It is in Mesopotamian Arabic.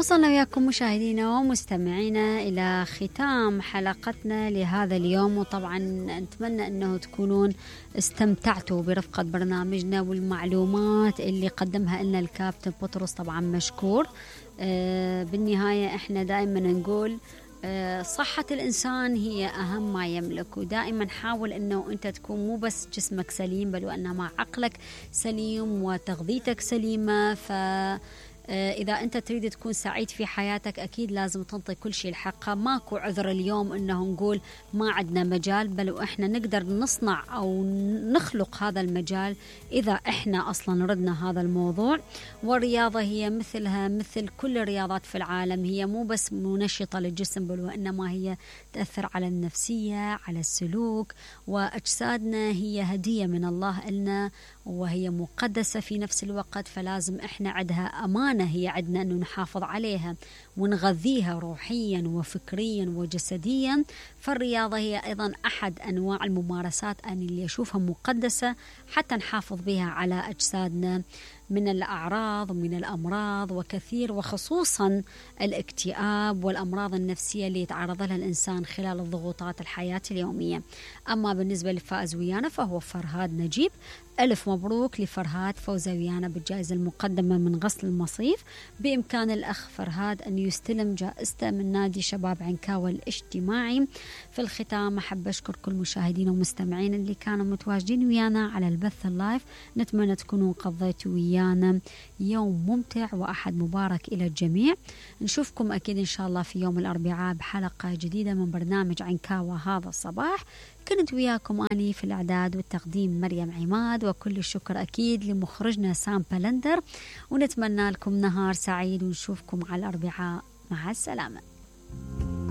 وصلنا وياكم مشاهدينا ومستمعينا إلى ختام حلقتنا لهذا اليوم، وطبعا نتمنى أنه تكونون استمتعتوا برفقة برنامجنا والمعلومات اللي قدمها لنا الكابتن بطرس، طبعا مشكور. بالنهاية احنا دائما نقول صحة الإنسان هي أهم ما يملك، ودائما حاول أنه أنت تكون مو بس جسمك سليم بل وأنما عقلك سليم وتغذيتك سليمة. إذا أنت تريد تكون سعيد في حياتك أكيد لازم تنطي كل شيء الحقه. ماكو عذر اليوم أنه نقول ما عندنا مجال، بل وإحنا نقدر نصنع أو نخلق هذا المجال إذا إحنا أصلا ردنا هذا الموضوع. والرياضة هي مثلها مثل كل الرياضات في العالم، هي مو بس منشطة للجسم بل وإنما هي تأثر على النفسية، على السلوك، وأجسادنا هي هدية من الله إلنا وهي مقدسة في نفس الوقت، فلازم إحنا عندها أمانة هي عندنا أنه نحافظ عليها ونغذيها روحيا وفكريا وجسديا. فالرياضة هي أيضا أحد أنواع الممارسات اللي أشوفها مقدسة حتى نحافظ بها على أجسادنا من الأعراض ومن الأمراض وكثير، وخصوصا الاكتئاب والأمراض النفسية اللي يتعرض لها الإنسان خلال الضغوطات الحياة اليومية. أما بالنسبة للفائز ويانا فهو فرهاد نجيب. ألف مبروك لفرهاد فوزه ويانا بالجائزة المقدمة من غسل المصيف. بإمكان الأخ فرهاد أن يستلم جائزته من نادي شباب عنكاوة الاجتماعي. في الختام أحب أشكر كل مشاهدين ومستمعين اللي كانوا متواجدين ويانا على البث اللايف. نتمنى تكونوا قضيتوا ويانا يوم ممتع وأحد مبارك إلى الجميع. نشوفكم أكيد إن شاء الله في يوم الأربعاء بحلقة جديدة من برنامج عنكاوة هذا الصباح. كنت وياكم أني في الإعداد والتقديم مريم عماد، وكل الشكر أكيد لمخرجنا سام بلندر، ونتمنى لكم نهار سعيد ونشوفكم على الأربعاء. مع السلامة.